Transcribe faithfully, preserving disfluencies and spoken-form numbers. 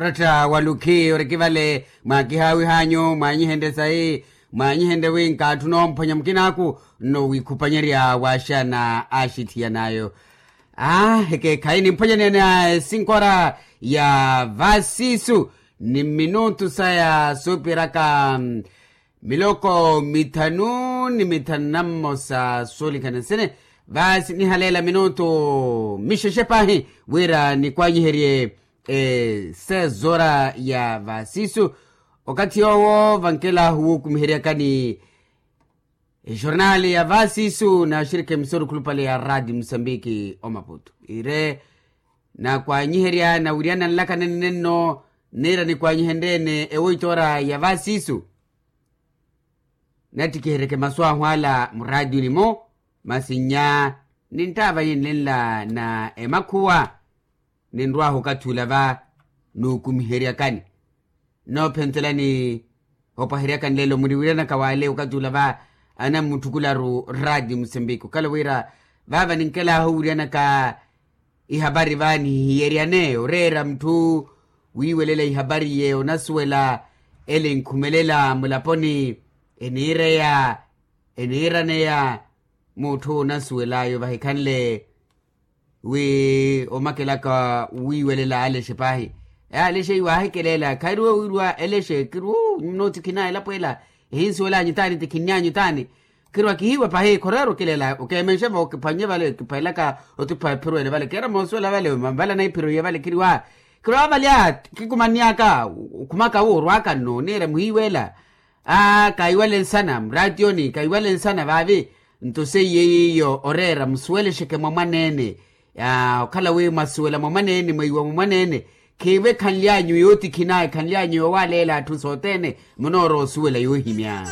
Oratta walukhi oriki vale, mwakihaawih'anyu mwanyihenrye sayi, mwanyihenrye wi nkaatthu noomphwanya mukin'aku nno wiikhupanyerya waaxana aaxithiyan'ayo. Aa ekeekhayi nimphwanyaneyana esinkora ya vasiisu ni mminutu saya soopiraka miloko mithanu ni mithanu na mmosa soolikhana sene. Vaasi nihaleela minutu mixexe paahi wira nikwanyiherye esezora ya vasiisu. Okathi yoowo vankelahu wuukumiheryakani ejornali ya vasiisu naaxirikhi emisoro khulupale ya raati musambiki omaputu iire nakwanyiherya nawiryana nlaka nenne nno. Niira nikwanyihenrye-ene ewoitora ya vasiisu nattikiheryeke masu ahu ala muraatiyuni-mo. Masi nnya ninttaavanyeni nenla na emakhuwa ninrw'ahu okathi ula va nuukumiheryakani. Nnoophentelani opwaheryakani lelo muriwiryanaka w'ale okathi ula va anammutthukulara raati musambiki okhala wira vaava ninkelahu owiryanaka ihapari va nihihiyeryaneyo oreera mutthu wiiwelela ihapari yeeyo onasuwela ele enkhumelela mulaponi eniireya eniiraneya. Mutthu onasuwel'ayo vahikhanle wi omakelaka wiiwelela alexe paahi alexe iwaahikelela khairiwe wiiriwa elexe kiriwu nyumu nootikhin'aya elapo ela ehinsuwel'anyu taani tikhin'anyu taani. Kiriwa kihiiwe paahi khoreera okilela okeemenxe vo kiphwannye vale kiphwelaka otiphwa ephiro ele vale keera moosuwela vale mavale anaiphiro iye vale kiriwa kiriwa vale aa kikumanny'aka okhumaka wu orw'aka nno oniira muhiiwela. Aa kaiwale nsana muraatiyoni kaiwale nsana vaavi. Nto seiye yiiyo oreera musuwelexeke mwa mwaneene okhala wi mwasuwela mwa mwaneene mweiwa mwa mwaneene khiivo ekhanly'anyu yootikhin'aya ekhanly'anyu yoowaleela atthu sothene munoorowa osuwela yoohimya.